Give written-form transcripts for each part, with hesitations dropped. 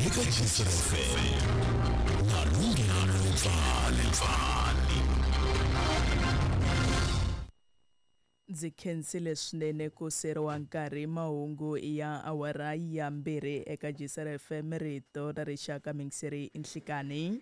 Eka GCFM na Lunghelo Mpfani. Ndzi khensile swinene ku seriwa nkarhi. Mahungu ya awara ya 2 eka GCR FM, rito ra rixaka, mingiseri nhlikani.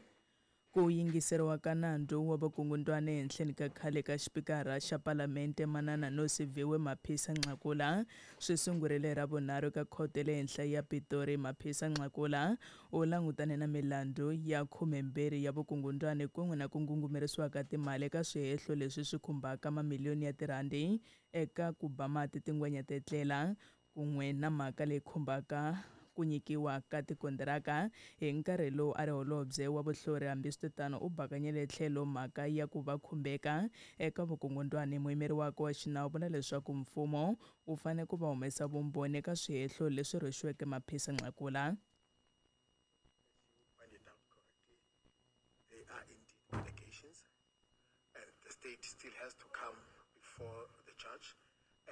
Ku yingiseriwa ka nandzu wa vukungundwani ehenhleni ka khale ka xipikara xa Palamente Manana Nosiviwe Maphisa Nqakula swi sungurile ra vunharhu ka khoto le henhla ya Pitori. Maphisa Nqakula u langutane na milandzu ya 12 ya vukungundwani kun'we na ku ngungumerisiwa ka timali eka swihehlo leswi swi khumbaka mamiliyoni ya tirhandi eka ku ba mati tingwenya tetlela kun'we na mhaka leyi khumbaka ku nyikiwa ka tikontiraka hi nkarhi lowu a ri holobye wa vuhlori. Hambiswiritano, u bakanyele tlhelo mhaka ya ku va khumbeka eka vukungundwani. Muyimeri wakwe wa xinawu vula leswaku mfumo wu fanele ku va humesa vumbhoni eka swihehlo leswi rhwexiweke Maphisa Nqakula. They are indeed allegations, and the state still has to come before the judge,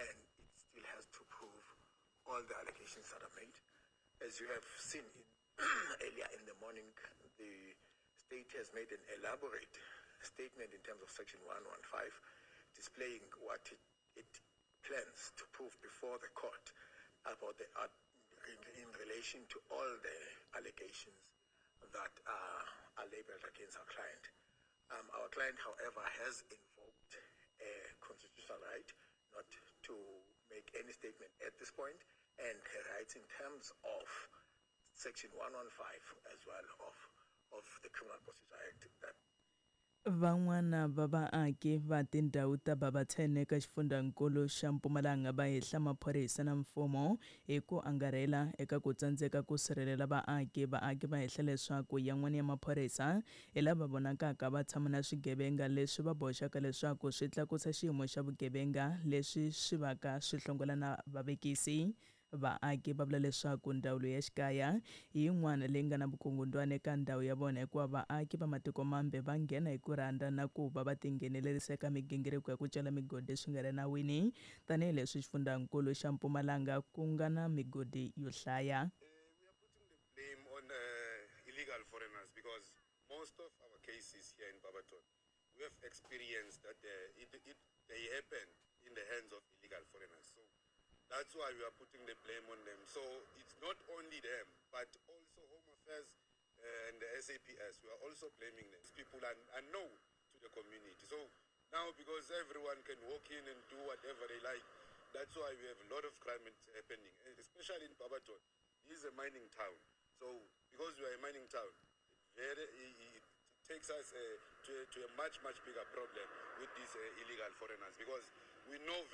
and it still has to prove all the allegations that are made. As you have seen earlier in the morning, the state has made an elaborate statement in terms of Section 115, displaying what it plans to prove before the court about the in relation to all the allegations that are labeled against our client. Our client, however, has invoked a constitutional right not to make any statement at this point, and her rights in terms of Section 115 as well of the Criminal Procedure Act. That Van'wana va vaaki va tindhawu ta Babathene eka xifundzankulu xa Mpumalanga va hehla maphorisa na mfumo hi ku angarhela eka ku tsandzeka ku sirhelela vaaki. Vaaki va hehla leswaku yan'wana ya maphorisa hi lava vonakaka va tshama na swigevenga leswi va boxaka leswaku swi tlakusa xiyimo xa vugevenga leswi swi vaka swi hlongola na vavekisi. Vaaki va vula leswaku ndzawulo ya xikaya hi yin'wana leyi nga na vukungundwani eka ndhawu ya vona, hikuva vaaki va matiko mambe va nghena hi ku rhandza na ku va va tinghenelerisa eka migingiriko ya ku cela migodi swi nga ri nawini, tanihileswi xifundzankulu xa Mpumalanga ku nga na migodi yo hlaya. We are putting the blame on illegal foreigners because most of our cases here in Barberton, we have experienced that they happen in the hands of illegal foreigners. So that's why we are putting the blame on them. So it's not only them, but also Home Affairs and the SAPS. We are also blaming them. These people are unknown to the community. So now, because everyone can walk in and do whatever they like, that's why we have a lot of crime happening, especially in Barberton. This is a mining town. So because we are a mining town, it takes us to a much, much bigger problem with these illegal foreigners, because we know very